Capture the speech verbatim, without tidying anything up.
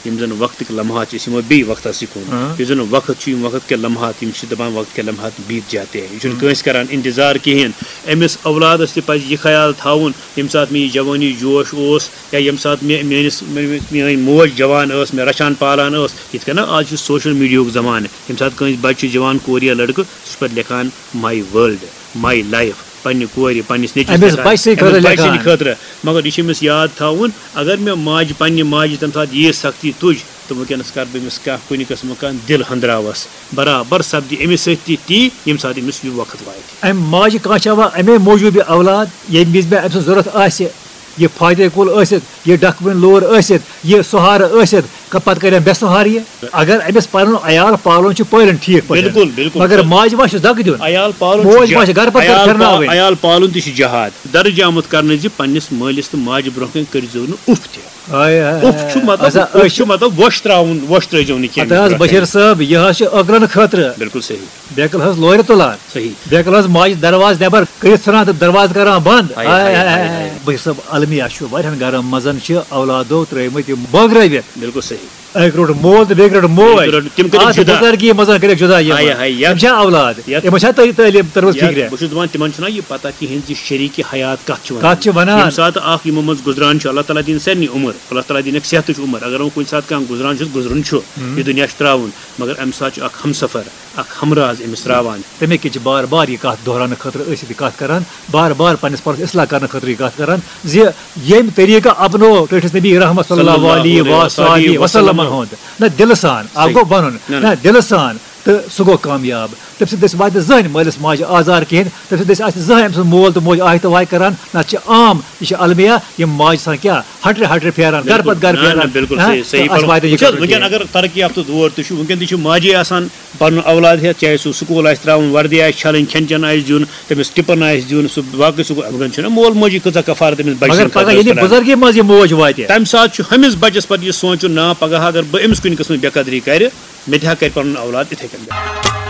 یِم زَن وقتٕکۍ لمحات چھِ، أسۍ یِمو بیٚیہِ وقتَسٕے کُن۔ ہاں۔ یُس زَن وقت چھُ، یِم وقت کے لمحات، یِم چھِ دَپان، وقت کے لمحات بیٖت جاتے ہیں۔ یہِ چھُنہٕ کٲنٛسہِ کَران اِنتظار کِہیٖنۍ۔ أمِس اولادَس تہِ پَزِ یہِ خیال تھاوُن، ییٚمہِ ساتہٕ مےٚ یہِ جوٲنی جوش اوس، یا ییٚمہِ ساتہٕ مےٚ، میٛٲنِس، مےٚ، میٛٲنۍ موج جوان ٲس، مےٚ رَچھان پالان ٲس، یِتھ کٔنۍ آز چھُ social media ہُک زمانہٕ، ییٚمہِ ساتہٕ کٲنٛسہِ بَچہِ چھُ جوان، کورِ یا لٔڑکہٕ، سُہ چھُ پَتہٕ لیکھان my world، my life، پننہِ کورِ، پننِس نیٚچوِس أمِس لیکھان، بچہِ سٕنٛدِ خٲطرٕ أمِس بچہِ سٕنٛدِ لیکھان۔ خٲطرٕ۔ مگر یہِ چھِ أمِس یاد تھاوُن، اگر مےٚ ماجہِ، پننہِ ماجہِ تَمہِ ساتہٕ ییٖژ سختی تُج، تہٕ وٕنکیٚنَس کَرٕ بہٕ أمِس کانٛہہ کُنہِ قٕسمہٕ کانٛہہ دِل ہندراوَس، برابر سپدِ أمِس سۭتۍ تہِ تی، ییٚمہِ ساتہٕ أمِس یہِ وقت واتہِ۔ اَمہِ ماجہِ کانٛہہ چھِ اَوا اَمے موٗجوٗب یہِ اولاد، ییٚمہِ وِزِ مےٚ أمۍ سٕنٛز ضوٚرَتھ آسہِ، یہِ فاتح کُل ٲسِتھ، یہِ ڈَکھٕ بٔنۍ لور ٲسِتھ، یہِ سُہارٕ ٲسِتھ، کَ-، پَتہٕ کَرِ أمۍ بے سُہارٕ یہِ۔ اگر أمِس پَنُن عیال پالُن چھُ پٲلِن ٹھیٖک پٲٹھۍ، بِلکُل، بِلکُل۔ مگر ماجہِ ما چھُ زَکہٕ دیُن؟ عیال پالُن چھُ موج ما جہاد۔ چھِ گَرٕ پَتہٕ گَرٕ عیال پھِرناوٕنۍ؟ پا-، عیال پالُن تہِ چھُ جہاد۔ درجہِ آمُت کرنہٕ زِ پننِس مٲلِس تہٕ ماجہِ برونٛہہ کنہِ کٔرۍزیو نہٕ اُف تہِ۔ ہاے، ہاے، اُف چھُ ہاے۔ مطلب، اچھا، اُف أسۍ چھُ چھِ مطلب وۄش ترٛاوُن، وۄش ترٛٲوزیو نہٕ کینٛہہ اَدٕ حظ، أمِس برونٛہہ بشیٖر کنہِ۔ صٲب، یہِ حظ چھُ ٲخرن خٲطرٕ۔ بِلکُل صحیح۔ بیکل حظ لورِ تُلان۔ صحیح۔ بیکل حظ ماجہِ دروازٕ نٮ۪بر کٔرِتھ ژھٕنان تہٕ دروازٕ کران بنٛد۔ ہاے، ہاے، ہاے، ہاے، ہاے۔ ہاے۔ بشیٖر صٲب، المیہ چھُ واریاہن گرن منٛز چھِ اولادو ترٲومٕتۍ یِم بٲگرٲوِتھ۔ بِلکُل صحیح۔ أکۍ روٚٹ مول تہٕ بیٚیہِ روٚٹ موج۔ بیٚیہِ روٚٹ، تِم کٔرِکھ اَتھ جُدا۔ بُزرگی منٛز کٔرِکھ جُدا یِم۔ ہاے، ہاے، یَتھ، یِم چھا اولاد؟ یَتھ، یِمن چھا تعلیٖم تٔرمٕژ یَتھ فِکرِ؟ بہٕ چھُس دَپان، تِمن چھُنہ یہِ پتہ کِہیٖنۍ زِ شریٖک حیات کَتھ چھُ وَنان۔ کَتھ چھِ وَنان؟ ییٚمہِ ساتہٕ اَکھ یِمو منٛز گُزران چھُ، اللہ تعالیٰ دِیِن سارنٕے عُمر، اللہ تعالیٰ دِیِن اَکھ صحتٕچ عُمر۔ اگر وۄنۍ کُنہِ ساتہٕ کانٛہہ گُزران چھُ، گُزرُن چھُ، ہُم۔ یہِ دُنیا چھُ ترٛاوُن، مگر اَمہِ ساتہٕ چھُ اَکھ ہمسفر، اکھ ہمراز أمِس راوان۔ تَمے کِنۍ چھِ بار بار یہِ کَتھ دۄہراونہٕ خٲطرٕ أسۍ ییٚتہِ کَتھ کَران، بار بار پنٛنِس پانَس اصلاح کَرنہٕ خٲطرٕ یہِ کَتھ کَران زِ ییٚمۍ طریٖقہٕ اپنو ٹٲٹھِس نبی رحمت صلی اللہ علیہ وآلہ وسلم ہُنٛد، نہ دِلہٕ سان، اَکھ صحیح۔ گوٚو وَنُن، نہ، نہ۔ نہ دِلہٕ سان، تہٕ سُہ گوٚو کامیاب۔ تٔمۍ سٕنٛدِ دٔسۍ واتہِ نہٕ زٕہٕنۍ مٲلِس ماجہِ آزار کِہیٖنۍ، تٔمۍ سٕنٛدِ دٔسۍ آسہِ نہٕ زٕہٕنۍ أمۍ سٕنٛز مول تہٕ موج آہہِ تہٕ واے کَران، نَتہٕ چھِ عام، یہِ چھِ المیہ، یِم ماجہِ آسان کیٛاہ، ہَٹرِ ہَٹرِ پھیران، گَرٕ بِلکُل۔ پَتہٕ گَرٕ نہ، نہ، پھیران، بِلکُل ہاں، صحیح، صحیح تہٕ اَسہِ فرموو۔ واتہِ نہٕ یہِ وٕچھ حظ، خبر وٕنکیٚن کِہیٖنۍ۔ اگر ترقی یافتہٕ دور تہِ چھُ، وٕنکیٚن تہِ چھِ ماجے آسان پَنُن اولاد ہٮ۪تھ، چاہے سُہ سکوٗل آسہِ ترٛاوُن، وردی آسہِ چھَلٕنۍ، کھٮ۪ن چٮ۪ن آسہِ دیُن، تٔمِس ٹِپَن آسہِ دیُن، سُہ باقٕے سکوٗل، وٕنکیٚن چھُنہ مول موجی کۭژاہ کفارت تٔمِس بَچہِ مگر سٕنٛدِ پگاہ خٲطرٕ ییٚلہِ ٲس تُلان۔ بُزرگی منٛز یہِ موج واتہِ۔ تَمہِ ساتہٕ چھُ ہُمِس بَچَس پَتہٕ یہِ سونٛچُن، نا، پگاہ اگر بہٕ أمِس کُنہِ قٕسمٕچ بے قدری کَرِ، مےٚ تہِ ہا کَرِ پَنُن اولاد اِتھَے کٔنۍ۔